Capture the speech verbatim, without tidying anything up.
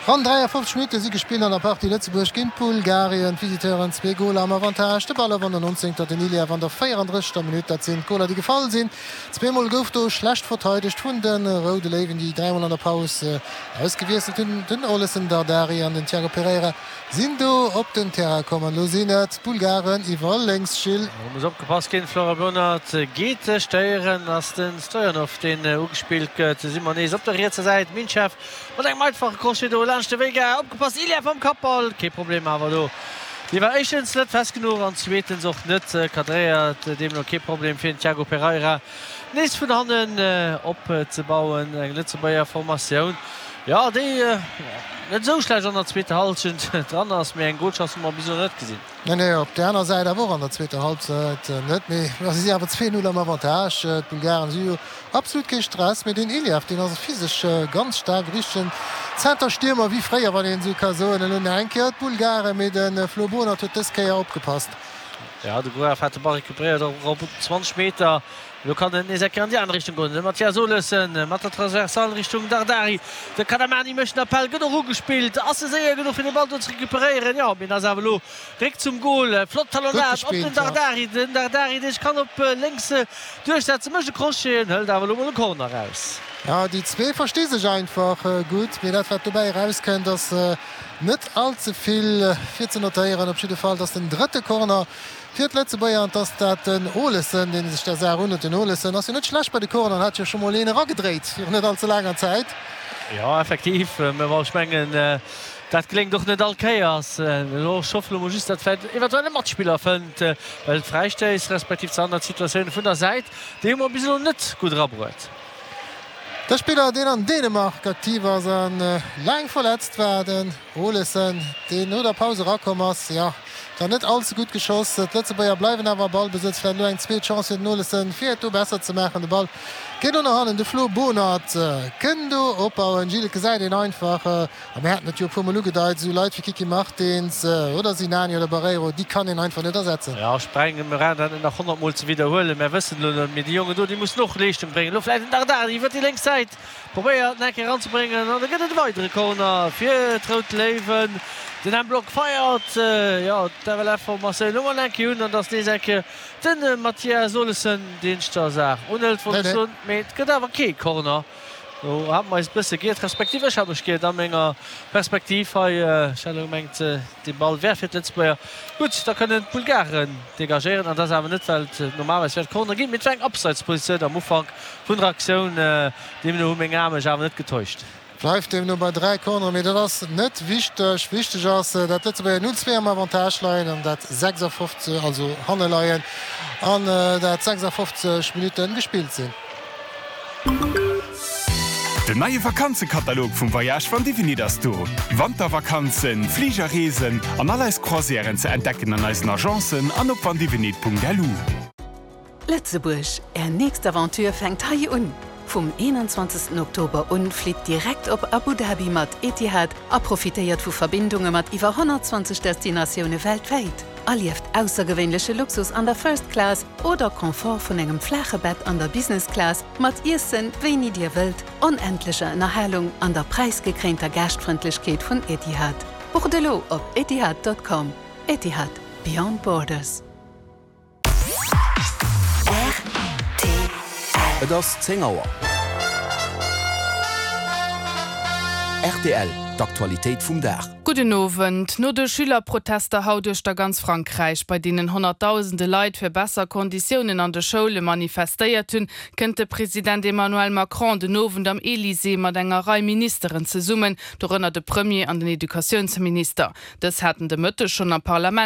Ronn dräiafofzeg Minutte si gespillt an der Partie Lëtzebuerg géint Bulgarien. D'Visiteuren zwee Goler am Avantage. De Ball an der nonzéngter, den Iliev an der véierandrëssegter Minutt. Dat sinn d'Goler, déi gefall sinn. Zweemol gouf do schlecht verteidegt vun de Roude Léiwen, déi dräimol an der Paus ausgewiesselt hunn. Den Olesen Dardari an den Tiago Pereira sinn do op den Terrain komm an elo sinn et d'Bulgaren iwwer lénks. Gilles. Do muss opgepasst ginn, Florent Bernard geet stéieren, ass de Stojanov deen ugespillt gëtt. Si mer nees op der rietser Säit, Minchev mat engem einfache Crochet do laanscht de Veiga. Opgepasst, Iliev mam Kappball, kee Problem awer do. Dee war éischtens net fest genuch an zweetens och net cadréiert, deemno kee Problem fir den Tiago Pereira nees vun hannen opzebauen. Eng Lëtzebuerger Formatioun, jo, déi net esou schlecht an der zweeter Hallschent dran ass, mee eng Golchance hu mer bis elo net gesinn. Nee, nee, op där aner Säit awer och an der zweeter Halbzeit net, mee si si awer zwee Null am Avantage. D'Bulgaren si jo absolut kee Stress, mee deen Iliev, deen ass physesch ganz staark, e richtegen Zenterstiermer wéi fréier, wann een esou ka soen. Elo nach eng Kéier d'Bulgaren, mee de Flo Bohnert huet dës Kéier opgepasst. Jo, de Gruev hat de Ball recuperéiert op zwanzeg Meter. Elo kann et nees eng Kéier an déi aner Richtung goen. De Mathias Olesen mat der Transversale Richtung Dardari. De Kadamani mécht den Appell, gëtt och ugespillt. Ass e séier genuch fir de Ball do ze recuperéieren? Jo, mee en ass awer elo réck zum Gol. Flott Talonnade op den Dardari. Den Dardari, dee sech kann op lénks duerchsetzen, mécht e Crochet an hëlt awer elo mol e Corner eraus. Jo, déi zwee versti sech einfach gutt, mee dat wat dobäi erauskënnt ass net all ze vill fir ze notéieren. Op jidde Fall, et ass den drëtte Corner fir d'Lëtzebuerger an et ass dat den Olesen, dee sech der Saach unhuet. Den Olesen ass jo net schlecht bei de Corneren, hat jo scho mol een eragedréit virun net all ze laanger Zäit. Jo, effektiv, mä bon, ech mengen, dat geléngt och net all Kéiers. Elo, ech hoffen elo mol just, datt vläicht eventuell e Matspiller fënnt, well d'Fräistéiss respektiv d'Standardsituatioune vun der Säit, déi hu mer bis elo net gutt erabruet. De Spiller, deen an Dänemark aktiv ass a laang verletzt war, den Olesen, deen no der Paus erakomm ass, jo, dann net all ze gutt geschoss. D'Lëtzebuerger bleiwen awer am Ballbesëtz. Vläicht elo eng zweet Chance fir den Olesen, fir et do besser ze maachen. De Ball geet elo no hannen. De Flo Bohnert kënn do opbauen. Gilles, et gesäit een einfach, a mir haten et jo e puermol ugedeit, esou Leit wéi Kiki Martins oder Sinani oder Barreiro, déi kann een einfach net ersetzen. Jo, ech brengen, mir brauchen dat net nach honnert Mol ze widderhuelen, mär wëssen elo net, mee déi Jongen do, déi mussen och Leeschtung bréngen. Elo vläicht den Dardari iwwert déi lénks Säit probéiert en Eck eranzebréngen an da gëtt et e weidere Corner fir d'Rout Léiwen. Den M-Block feiert, jo, d'F L F-Formatioun elo mol eng Kéier un an et ass nees eng Kéier de Mathias Olesen, deen sech der Saach unhëlt, wollt ech soen, mee et gëtt awer kee Corner. Do hate mer eis e bësse giert, respektiv ech hat mech giert a menger Perspektiv hei. Ech hat elo gemengt, dee Ball wär fir d'Lëtzebuerger. Gutt, da kënnen d'Bulgaren degagéieren. An dat ass awer net, well et normalerweis wäert Corner ginn, mee et war eng Abseitspositioun am Ufank vun der Aktioun. Deemno hu meng Ae mech awer net getäuscht. Bleift deemno bei dräi Corneren, mee dat ass net wichteg. Wichteg ass, dat d'Lëtzebuerger null zwee am Avantage leien an dat sechsafofzeg, also hanne leien an dat sechsafofzeg Minutte gespillt sinn. Den neie Vakanzekatalog vum Voyage van Divinit ass do! Wantervakanzen, Fligerreesen an all eis Croisièren ze entdecken an eisen Agencen an op vandivinit Punkt L U. Lëtzebuerg, Är nächst Aventure fänkt hei un! Vum eenanzwanzegsten Oktober un flitt direkt op Abu Dhabi mat Etihad a profitéiert vu Verbindunge mat iwwer honnertzwanzeg Destinatioune weltwäit. Erlieft aussergewéinleche Luxus an der First Class oder Confort vun engem flaache Bett an der Business Class mat Iessen, wéini Dir wëllt, onendlecher Ënnerhalung an der präisgekréinter Gaaschtfrëndlechkeet vun Etihad. Bucht elo op etihad Punkt com. Etihad, Beyond Borders. Et ass zéng Auer. Rtl, D'Aktualitéit vum Dag. Gudden Owend. No de Schülerprotester haut uechter ganz Frankräich, bei deenen honnertdausende Leit fir besser Konditiounen an de Schoule manifestéiert hunn, kënnt de President Emmanuel Macron den Owend am Elysée mat enger Rei Ministeren zesummen, dorënner de Premier an den Educatiounsminister. Dës haten de Mëtteg schonn am Parlament